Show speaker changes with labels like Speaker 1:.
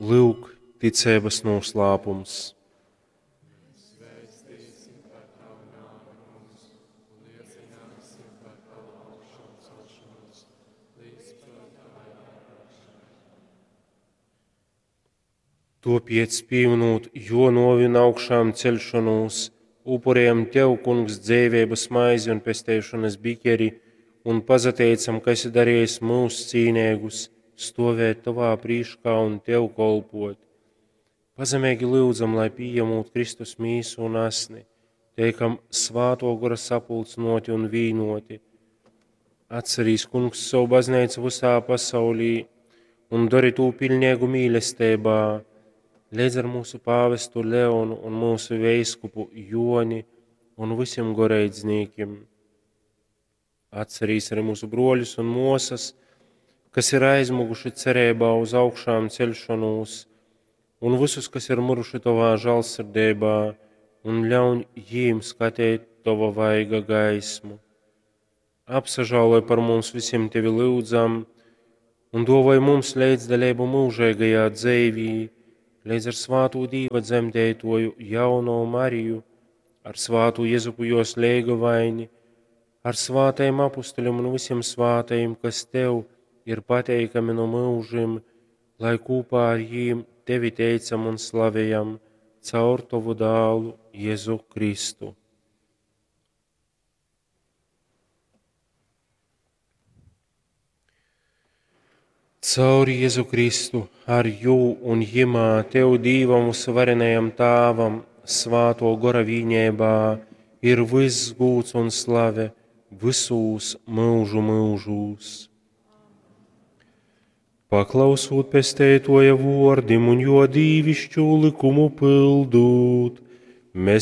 Speaker 1: Lyuk, ticeibas nūslāpums.
Speaker 2: Vēstīsim par tavu nāvi, Kungs, un liecināsim par tavu augšāmcelšanos līdz pat tavai atnākšanai.
Speaker 1: Topiec pieminot jo novi un augšām celšanos, upurējam Tev, Kungs, dzeiveibas maizi un pesteišanas bikeri, un pazateicam, ka esi darījis mūs cīnēgus, stovēt Tavā prīškā un Tev kolpot. Pazemeigi lyudzam, lai pījemūt Kristus mīsu un asni, teikam svāto gora sapulcnoti un vīnoti. Atcerīs, Kungs, savu baznīcu visā pasaulī un dari tū pilnīgu mīlestībā, līdz ar mūsu pāvestu Leonu un mūsu veiskupu Joni un visiem goreidznīkim. Atcerīs arī mūsu broļus un mosas, kas ir aizmuguši cerībā uz augšām celšanos, un visus, kas ir miruši tavā žālsirdībā, un ļauj jīm skatīt tava vaiga gaismu. Apsažāloj par mums visiem tevi lūdzam, un dovoj mums līdzdalību mūžīgajā dzeivī, līdz ar svāto Dīva dzemdētoju jauno Mariju, ar svātu Jezupu jos leigavaini, ar svātajiem apustuļiem un visiem svātajiem, kas tev ir pateikami no mūžiem, lai kopā ar jīm tevi teicam un slavējam caur tavu dālu Jēzu Kristu. Caur Jēzu Kristu, ar jū un jimā tev Dīvam uzvarenajam Tāvam, svāto gora vīņēbā, ir viss gūts un slave visūs mūžu mūžūs. Paklausūt pesteitoja vordim un jo dīvišķu likumu pildūt, mēs